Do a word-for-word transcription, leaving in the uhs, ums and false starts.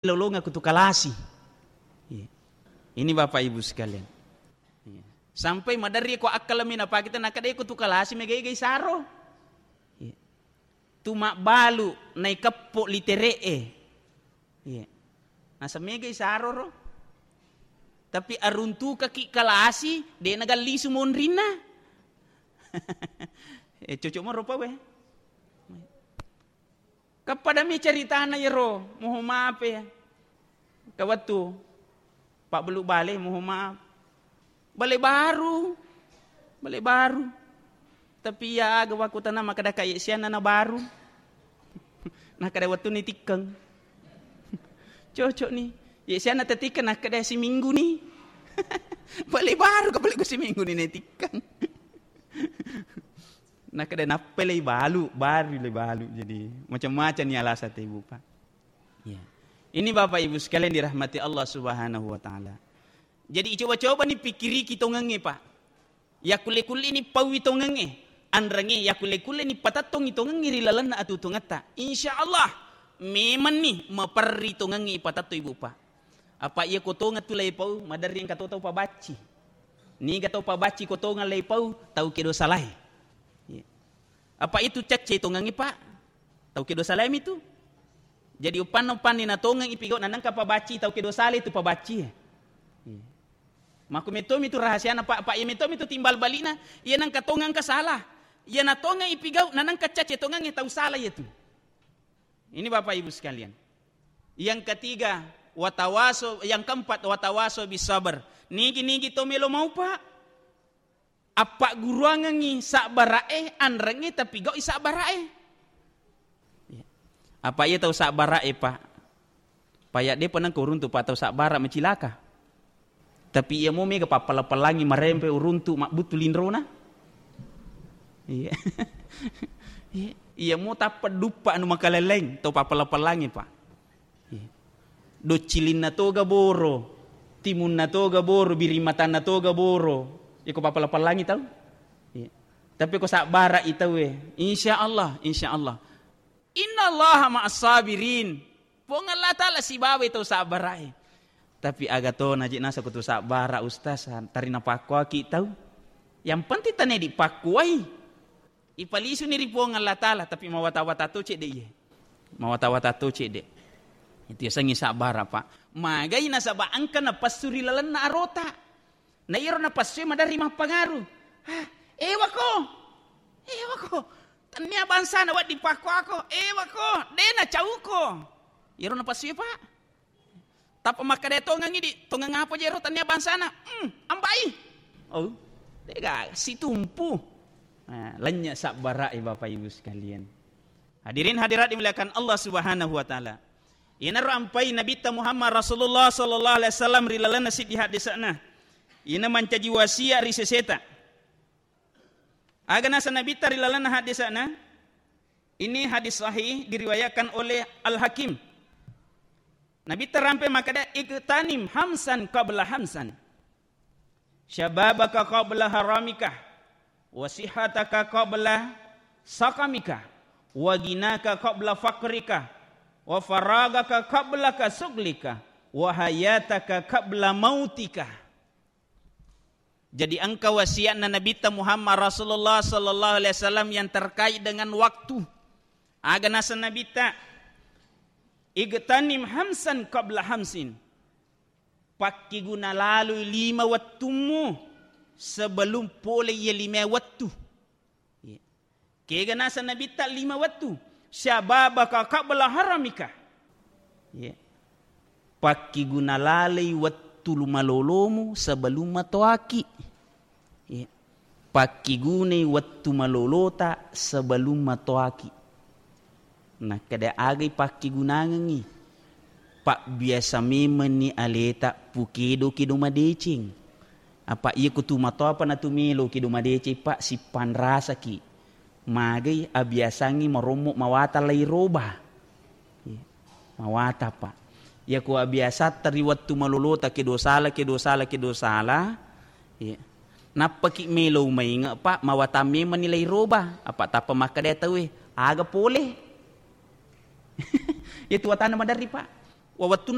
lolongeng ko tu kalasi. Iya. Ini Bapak Ibu sekalian. Iya. Sampai maderri ko akkalami napakita, nakkeda ko tu kalasi megai-gai saro. Iya. Tu mabbalu naikeppo litere'e. Iya. Nasa megai saro ro. Tapi aruntukaki kalasi, de' nagallisu monrinna. Eh, cocok mo rupa we. Kappadami ceritana iyaro, moho maaf ya. Kawattu pabbelu bale, moho maaf. Bale baru, bale baru. Tapi iya aga wakkutana makkeda ka ye sianna na baru. Nakkeda wettunni tikkeng. Cocok ni. Ye sianna tetikkeng nakkeda siminggu ni. Bale baru ka bale ko siminggu ni netikkeng. Nakkeda nappa lei balu, baru lei balu. Jadi macam-macam ni alasan te, Ibu, Pak. Ya. Ini Bapak Ibu sekalian dirahmati Allah Subhanahu wa Ta'ala. Jadi coba-coba ni pikiriki tongengnge, Pak. Yakkulle-kulle ni pauwi tongengnge. Anrengnge yakkulle-kulle ni patattongi tongengnge ri lalenna atuo-tuongetta. Insya Allah, memang ni maperri tongengnge ipatattong, Ibu, Pak. Apa iya ko tongeng tu lai pau, maderri engka to tau pabacci. Niga tau pabacci ko tongeng lai pau, tau kedo salae. Iya. Apa itu cacce tongengnge, Pak? Tau kedo salae mi tu. Jadi uppanna, uppanni na tongeng ipigau na nengka pabacci tau kedo salae tu pabacci. Iya. Makku metto mi tu rahasiana, Pak, Pak, iya metto mi tu timbal balikna, iya nengka tongeng engka salah. Iya na tongeng ipigau na nengka cacce tongengnge tau salah iya tu. Ini Bapak Ibu sekalian. Yang ketiga, watawaso, yang keempat, watawaso bisabar. Nigi-nigi to melo mau, Pak. Appagguruangengngi sabbara'e, anrengnge tapigau'i sabbara'e. Ya. Apa iya tau sabbara'e, Pak? Paya depa nengka uruntu, Pak, tau sabbara macilaka. Tapi iya mo mega pappala-palangi marempe uruntu mabbuttu linrona. Iya. Iya, iya mo tappa duppa anu makaleleng tau pappala-palangi, Pak. Iya. Doccilinna toga boro, timunna toga boro, birimatanna toga boro. Iko pappala-palangi tau. Iya. Tapi ko sabbara i tauwe, insya Allah, insya Allah. Innallaha ma'as sabirin. Puang Allah Ta'ala sibawa tau sabbarai. Tapi aga to naji nasa ko tu sabbara, Ustaz, tari napakkuaki tau. Yang penting tane dipakkuai. Ipalisuni ri Puang Allah Ta'ala, tapi mawata-wata to cedde iye. Mawata-wata to cedde. Itu yasengngi sabbara, Pak. Magai nasaba engka napassu ri lalenna arota. Na iyaro napassue maderri mappangaru. "Ah, ewako. Ewako. Tennia bangsana wedding pakkuako. Ewako, de nacauko." Iyaro napassue, Pak. Tappa makkeda tongengngi di, "Tongeng apa jero tennia bangsana?" "Hmm, ambai." Oh, dega situmpu. Nah, lennye sabbara'i, Bapak Ibu sekalian. Hadirin hadirat dimuliakan Allah Subhanahu wa Ta'ala. Iyanaro ampai Nabitta Muhammad Rasulullah sallallahu alaihi wasallam ri lalenna siddi hadisa'na. Iyana mancaji wasiat ri seseta. Aga nasa Nabitta ri lalenna hadisa'na? Ini hadis sahih diriwayatkan oleh Al-Hakim. Nabitta rampe makkeda, "Iktanim hamsan qabla hamsan. Syababaka qabla haramika, wa sihataka qabla sakamika, wa ginaka qabla fakrika, wa faragaka qabla kasuglika, wa hayataka qabla mautika." Jadi engka wasiatna Nabitta Muhammad Rasulullah sallallahu alaihi wasallam yang terkait dengan waktu. Aga nasa Nabitta, "Igtanim hamsan qabla hamsin." Pakkiguna laloi lima wettummu sebelum pole iya lima wettu. Iya. Kega nasa Nabitta lima wettu, "Syababaka qabla haramika." Iya. Pakkiguna lalei wettu lumalolomu sebelum matoaki. Iya. Pakkigunai wettu malolota sebelum matoaki. Nakkeda agai pakkigunangengngi. Pabbiasa memenni aleta pukedo-kedo madeceng. Apa iya kutu matoapa natu melo kedo madeceng, Pak, sippanrasaki. Magai abiasangngi marommo mawata lairoba. Iya. Mawata, Pak. Iya ku abiasatta ri wettu malolota kedo sala, kedo sala, kedo sala. Iya. Nappaki melo mainge, Pak, mawata memenni lairoba. Apa tappa makkeda tauwe, aga pole? Iya tu watana maderri, Pak. Wa wettu